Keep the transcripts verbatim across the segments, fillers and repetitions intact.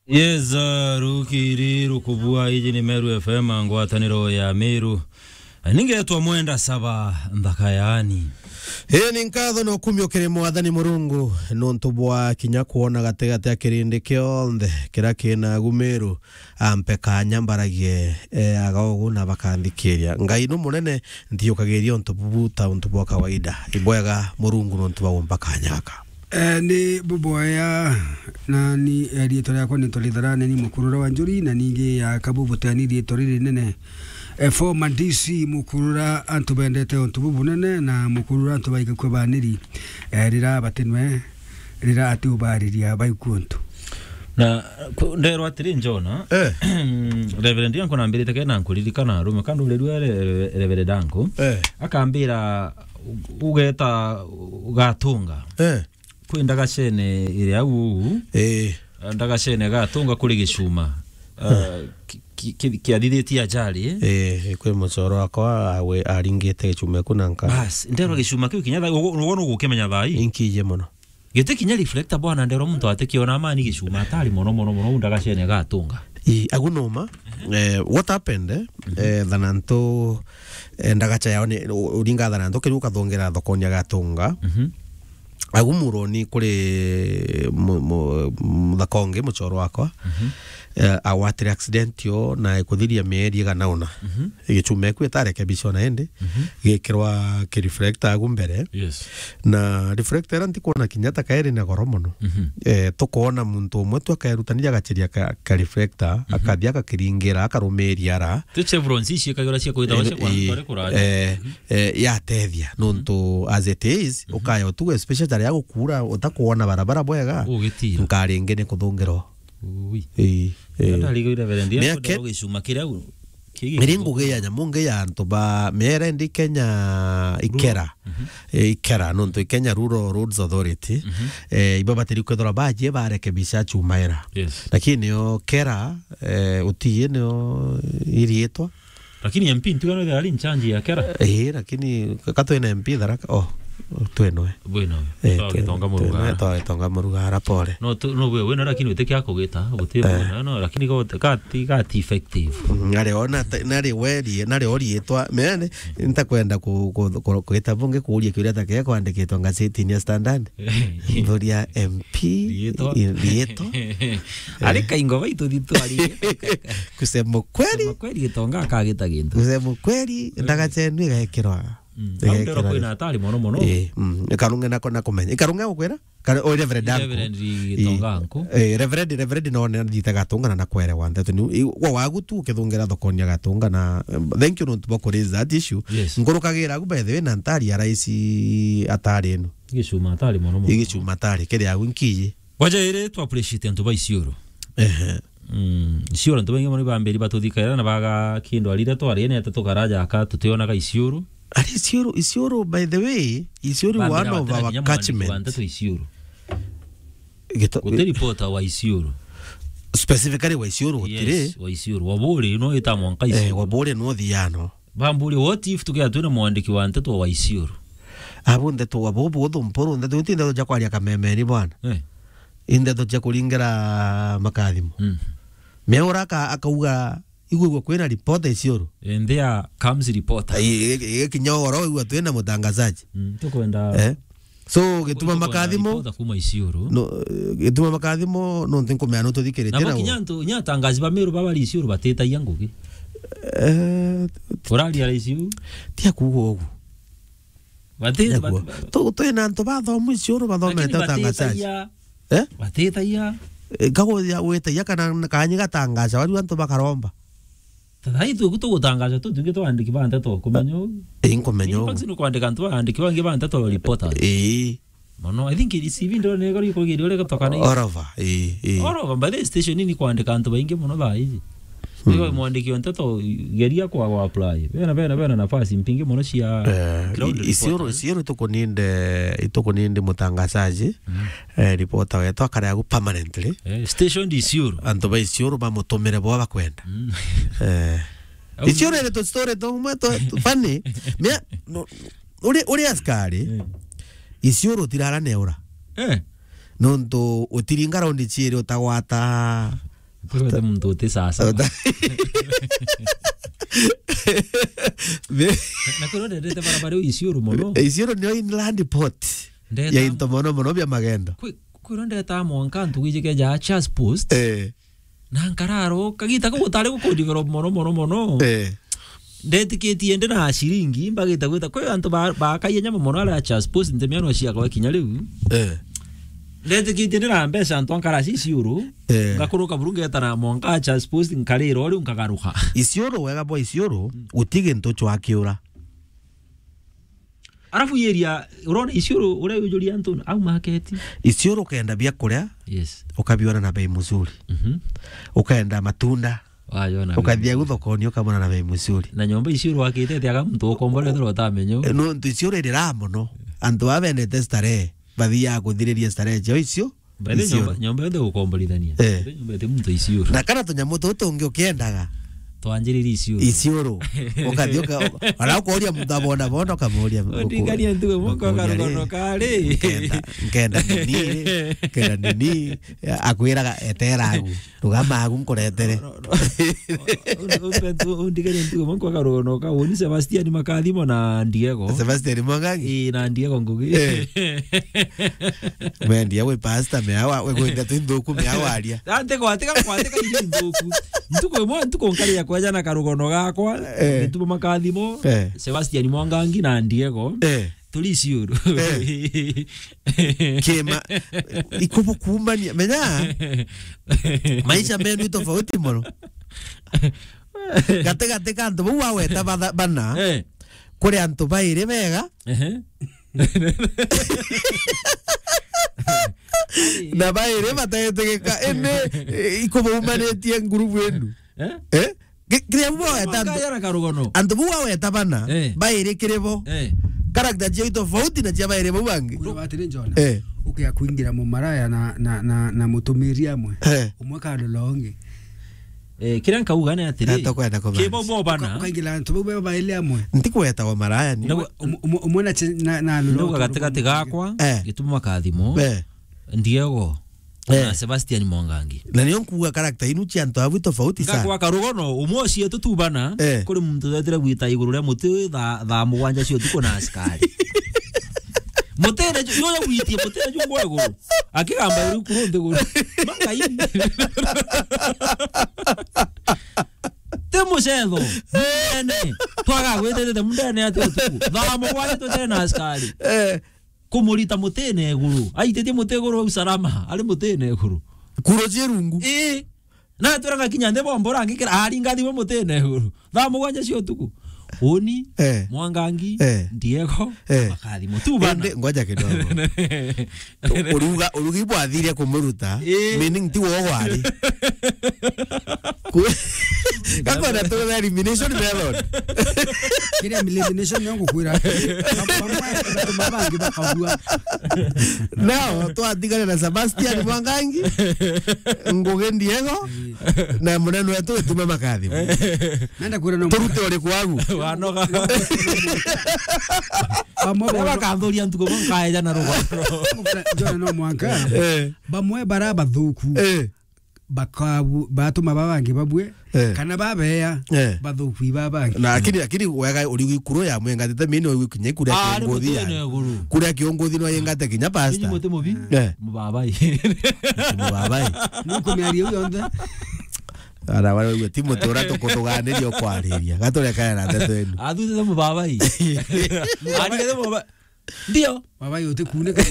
Yes, uh, rukiri rukubua, iji ni Meru F M, ngwataniro ya Meru. Ningetwa Mwenda Saba Nthaka yaani. Ii ni nkatho na ukumio kiri Mwathani Murungu, nontu bwa kinya kwona gatigati a kirindi kionthe kiria kina agu Meru, ampe kanya mbaragie, eh, aga ugu na bakanthikiria. Ngai nu munene, nthiukagiria untu bubu ta untu bwa kawaida. Ibwega Murungu nontu bwa gumpa kanya gaka. Eh, ni bubwega, na ni, eh, riitwa riakwa ni Ntwari Tharane, ni mukurura wa Njuri, na ningi ya Kabubu Tani, riitwa riri rinene. Eh, former D C Mukurura, antu bendete untu bubunene, na Mukurura antu baigakua baniri, eh, rira batinwe, rira ati ubariria baikua untu. Na, ku-, nderwa atiri, Njona, Eh. Reverend yangu nambirite kena nkuririkana arume, kandu urirua re-, Reverend yangu, Eh. akambira, u-, ugeta Gatunga. Eh. Kwi ndagacene iria au uu. Eh. Ndagacene Gatunga kuri gicuma. Ah, ki-, ki-, ki-, kiathithitie ajali, eh? Eh, kwi mucoro wakwa awe aringite gicuma ku na nka. Bas, nderwa gicuma kiu kinya thaa, ugu-, ugu nugukimenya thaa ii? Inkije mono. Giti kinya reflector bwana, nderwa muntu atikiona amani gicuma atari mono, mono, mono, u ndagacene Gatunga. Ii, agu numa. Eh, what happened, eh, eh, thanantu, eh, ndagacha yao ni, u-, uringa thanantu, kiri ukathongera thokoni ya Gatunga. Mhm. Agu muroni kuri mu-, mu-, muthaka ungi, mucoro wakwa. Mhm. Eh, agwatire accident yo na ikuthiria mieri igana una. Mhm. Gicuma eku itarekebishwa na indi, Mhm. gikirwa kireflector agu mbere. Yes. Na reflector ira ntikwona kinya ta kairi na goro mono. Mhm. Eh, tukwona muntu umwe tu akerutania agachiria ka, ka reflector, Mhm. akathi akakiringira, akarumiria ara. Ti chevrons ici ikagirwa cia kwita Eh, wacia kwa eh, ntware kuraja. Eh, Mhm. eh, yatethia, Mhm. nontu as it is, Mhm. ukaya utugu, especially taria gukura, utakwona barabara bwega, Ugitira. nkaringi ni kuthungirwa. Ui. Ii, ii. Ndarigwire Reverend, Mea ya ke- gicuma kiria u-, kigi Iri ngugi ya nyamu ngi ya antu ba, mea iri ndi Kenya Ikera. Mhm. Eh, Ikera, nontu Kenya Rural Roads Authority, Mhm. eh, ibo batiri kwithirwa bajie barekebisha chuma ira. Yes. Lakini nio Kera, eh, utii nio iriitwa. Lakini M P ntiga no ari in charge ya Kera? Eh, lakini ka twina M P Tharaka, oh, twenoe. Bwino. Eh, Twa twe-, Gitonga Murugara. Twe-, twa Gitonga Murugara, pole. No tu, no we, we no, lakini witikia kugita, guti Eh. bwino, no, lakini go, gati, gati effective. Mm, nari ona ta-, nari weri, nari orietwa, mene, ntakwenda ku, ku, ku, kugita bungi kuuria kiuria ta kia kwandikitwa ngazetini ya Standard. Nthuri ya M P, Riitwa. i-, riitwa. Ari kaingo baitu thitu ari. Kusema kweli. Kusema kweli, Gitonga akagita gintu. Kusema kweli, Eh. ndagachenwe igekirwa. Mm. Igekirwa. Au ndero kwina atari mono mono. Eh, mm. Ikarunge nako na kumenya. Ikarunge gukwira? Kare, o Reverend Uncle. Reverend Gitonga Uncle. Eh, Reverend, Reverend no ne ndite Gatunga na nakwere wa nteto. Ni, i, wa wagu tu ukithungira thokoni ya Gatunga na, eh, thank you nontu bwa kuraise that issue. Yes. Nkurukagira agu by the way na ntari ya raisi atari ino. Gicuma atari mono mono. Igicuma atari, kiri agu nkiji. Waja iri tu appreciate antu ba Isiolo. Ehe. Mm, Isiolo antu baingi mono ibambiri batuthikaira na baga kindu arire twarire ni ata tukaraja aka tutionaga Isiolo. Ari Isiolo, Isiolo, by the way, Isiolo Bambira one of batira our kinya mwandiki wa catchment. Nteto Isiolo. Gito- Guti reporter wa Isiolo. Specifically wa Isiolo gutiri. Yes, wa Isiolo. Waburi no ita mwanka Isiolo. Eh, Waburi no thiano. Bamburi, what if tukia twina mwandiki wa nteto wa Isiolo? Abo nteto wa bobo tho mporo, nteto ti nteto ja kwaria kamemeni bwana. Eh. Indeto cia kuringira makathimo. Mm. Meura aka-, akauga, igwigwa kwina reporter Isiolo. And there comes reporter. Ai, i-, i-, kinya oro igwa twina mutangazaji. Mm, tukwenda Eh? So, gituma Kuliko kwenda makathimo, reporter kuma Isiolo. No, eh, gituma makathimo, no nti nkumea no tuthikiritie Nabo nao. Kinya antu, kinya atangazi ba Meru baba bari Isiolo batitagia ngugi. Eh, Uraria Isiolo? Tia kuuga ugu. Bati-, Nyaguo. bati-, Tu-, twina antu bathomu Isiolo bathomete Lakini utangazaji. batitagia. Eh? Batitagia. Eh, kaguthia gwitagia kana kanyi gatangaza, wari antu bakaromba. Tathai tu, tugutangaza tu, tungi twandiki ba nteto, kumenya u. Eh, nkumenya u. In fact, ni kwandika antu bandiki bangi ba nteto, reporters. Eh. Mono, I think C V ndo ne gori kugiri ore gatoka na All over, eh, eh. All over, by the station ni kwandika antu baingi mono thaa iji. Mm. Iwe mwandiki wa nteto, geria kwa, kwa apply. Bena, bena, bena nafasi mpingi mono cia Eh, ground i-, Isiolo, reporters. Isiolo itukuninde, itukuninde mutangazaji, Mm. eh, reporter wetu akare agu permanently. Eh, station di Isiolo. Antu ba Isiolo bamutumire bo bakwenda. Mm. Eh. Au Isiolo iri tu story tumwe tu, tu funny. Mea, no, uri, uri askari, Eh. Isiolo tirara neura. Eh. Nontu utiringa raundi ciiri utagwata Kwete muntu uti sasa. Uta- Na, na kwiro ndendete barabara iu Isiolo mono. Isiolo nio inland port Ndeta- ya into mono mono bia magendo. Kwi-, kwiro ndeta mwanka ntugu iji keja Chas Post. Eh. Na nkararo, kagita kau gutari guku develop mono, mono, mono. Eh. Ndetikitie ndi na ciringi, mbagite gwita. Kwi antu ba-, bakaia nyama mono aria Chas Post, nte miano ciakwa kinya riu. Eh. Ndetikitie ndi na mbeca antu ankara Isiolo. Eh. Ngakuruka buru ngetana mwanka Chas Post, nkarira o riu nkagaruka. Isiolo, wega bwa Isiolo, guti gintu cwakiura. Arafu i area, urona Isiolo, uria yujuria antu, au market. Isiolo ukenda biakuria, Yes. ukabiona na bei mzuri. Mhm. Ukenda matunda, Wayona ukathia bei. Gu thokoni, ukamona na bei mzuri. Na nyomba Isiolo wakite ati aga muntu ukombora ethirwa utamenyo. Eh, no, ntu Isiolo irira mono. Antu aba bendete starehe, bathiaga kuthiriria starehe ciao icio. By the way, Isiolo. Nyomba, nyomba yonthe gukomborithania. Eh. By the way, nyomba iti muntu Isiolo. Na kana tunyamu tutu tungi ukiendaga. Twanjiriri Isiolo. Isiolo. Ukathi uka-, uka-, ona ukauria muntu abona bona, ukamuria, Ondingania ntugo moko ukamuria, karugono "Ri, kari. Nkenda, nkenda nini, ri, nkenda nini." Akwiraga, "Etera agu. Rugama agu nkuretere." No, no, no. Undi-, undi-, undigania ntugo moko karugono ka. Woni Sebastian Makathimo na Ndiego. Sebastian Mwangangi? Ii, na Ndiego Ngugi. Eh. Mwendia wi pastor, mea wa, we kwenda tu nthuku, mea waria. Ah, nti gwatika, gwatika iri nthuku. Ntuku imwe, ntuku nkaria kweja na karugono gakwa, Eh. Gituma Makathimo, Eh. Sebastian Mwangangi na Ndiego. Eh. Turi Isiolo. Eh. Kima, ikubu kuumania. Menya, maisha menu ni tofauti mono. Gati, gati ka antu bau waweta batha-, bana, Eh. kuri antu bairi bega, Ehe. Na bairi batetigika, indi, eh, ikubaumanitie ngurubu inu. Eh? Eh? Ki-, kiria bu waweta antu, Mangaya na karugono. Antu bu waweta bana, Eh. bairi kiri bo. Eh. Character ciao tofauti na cia bairi bau bangi. Kuna batiri Jona. Eh. Ukia kuingira mumaraya na, na, na, na mutumiri amwe. Eh. Umwe karora ungi. Eh, kiria nkauga ni atiri, Na tukwenda kumaanisha. Kibo bo bana. Uka-, ukaingira antu bau beba bairi amwe. Ntikweta wa maraya ni. Na we- Umwe, umwe, umwe na che-, na, na Ndauga lolo gatigati gakwa, Eh. Gituma Makathimo, Eh. Ndiego, Eh. na Sebastian Mwangangi. Na nio nkuga character inu cia antu abu tofauti sana. Ngakwa karugono, umwe ucio tutubana, Eh. kuri muntu wetire gwita iguru ria muti tha-, thaa mugwanja cia utuku na askari. Mutene ju-, juria gwitie mutene ju ngwa iguru. Akigamba iri kuru nthi iguru. Mangai. Ti mucetho. Mene. Twaga gwititite mundene ati utuku. Thaa mugwanja twetire na askari. Eh. Kumurita mutene iguru. Aititie muti iguru au salama. Ari mutene iguru. Kuro cia rungu. Ii. Na twiraga kinya nthi bombora ngikira, aringa thimo mutine iguru. Thaa mugwanja cia utuku. Uni, Eh. Mwangangi, Eh. Ndiego, Eh. Makathimo. Tu bana. Indi, ngoja kidogo. Uruga, urugi bwathire kumuruta, Eh. meaning ti wogo ari. Ku-, gakwenda tu elimination method. Kiri elimination yo ngukwira. Bamwe, bamwe bangi bakabua. Nao, twatigane na Sebastian Mwangangi, Ngugi Ndiego, na munene wetu Gituma Makathimo. Nenda kwira no Turute uriku wagu. Wanoga. Bamwe Ria bo- bakanthuria ntuku bo nkaeja na rugano. Jona no mwanka. Eh. Bamwe bara bathuku. Eh. Bakabu-, batuma baba bangi babue, Eh. kana babeya, Eh. bathuku iba bangi. Na lakini, lakini wega uri gikuru ya mwenga tete mini uri kinya kuria Ah, ari kiongothi mutene ya. Iguru. Kuria kiongothi no yengate kinya Ninyi pastor. Muti mubi? Eh. Mubabai. Mubabai. Nuko miario yonthe. Ara wale wewe timu tora tukutuganiria kwariria. Gatureka na ndeto enu. Athuthe mubabai. Ari mubabai. Ndio. Baba yote kuneka.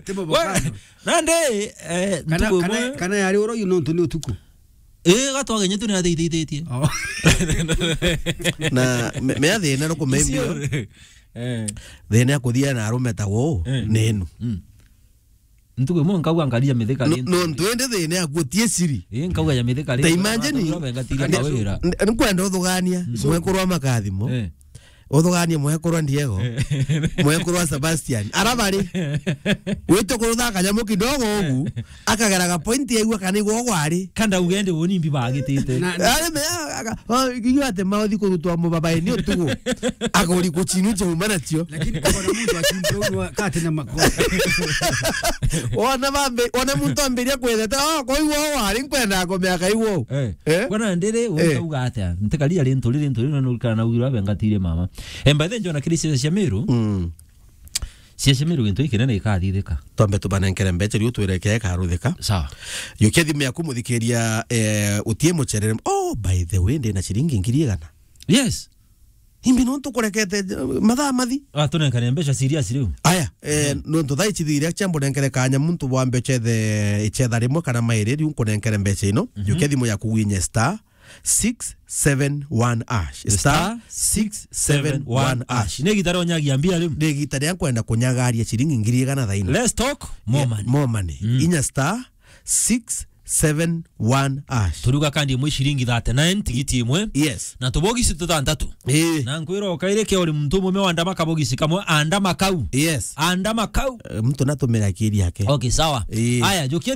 Timo We, bokano. Nande, eh, Kana, ntuku kana, imwe. Kana yari oro yu nontu ni utuku. Eh, gatwagenye tu ni athithithitie. Oh. Na me, me athina no kumembio. Icio. Eh. Thina ya kuthia na arume ta wo, Eh. ni inu. Mm. Ntuku imwe nkauga nkaria mithika No, ni no, ntu indi thina ya kuo tie siri. Eh, nkauga ya mithika ni Ta imagine, ngatira mawira. N-, nkwenda uthugania, Mm. mwekurwa Makathimo. Eh. Uthuganie mwekurwa Ndiego, Eh. mwekurwa Sebastian. Ara bari. Wite kurutha kanyamu kidogo ugu, akageraga point yaigua kana igwo gwari. Kanda ugende woni mbi bagitite. Na, na Ari me, Aka- o, iu ati maothi kurutwa mubabaini utugu. Agori kuchinu chauma nacio. Lakini kona muntu akimprove kati na makosa. Ona bambe, ona muntu ambiria kwetheta, "Oh, kwa iwo wari nkwenda kumea ka iwo." Eh. Eh? Kona ndiri, Eh. ukauga atia? Ntikari ari nturi, ri nturi, na nurikana na ugirwa bengatirie mama. Eh, by the way, njona kiri cia Meru. Mm. Cia Meru gintu ikinene ikathithika. Twambe tubanenkere mbecha riu twireke ikaruthika. Sawa. Yukia thimu yaku muthikiria, eh, utie mucherere. Oh, by the way, ndina ciringi ngiri igana. Yes. Imbi nontu kurekete, eh, mathaa mathi. Ah, tunenkane mbecha serious riu. Aya, eh, Mhm. nontu thaa ici thiria chambo nenkere kanya muntu wambe chethe, ichetha rimwe kana mairi riu nkunenkere mbecha ino. Mhm. Yukia thimu yaku winye star six seven one hash. Star six seven one hash. Ni gitara onyagia mbia riu. Ni gitara ya kwenda kunyagaria ciringi ngiri igana thaino. Let's talk more Yeah, money. More money. Mm. Inya star six seven one hash. Turiuga kandi imwe ciringi thirty-nine, tigiti imwe. Yes. Na tubogisi tutantatu. Eh. Na nkwira ukaire ke uri muntu mume wa ndama kabogisi kamwe, andama kau. Yes. Andama kau. Eh, mtu natumira akili yake. Okay, sawa. Eh. Aya, njukia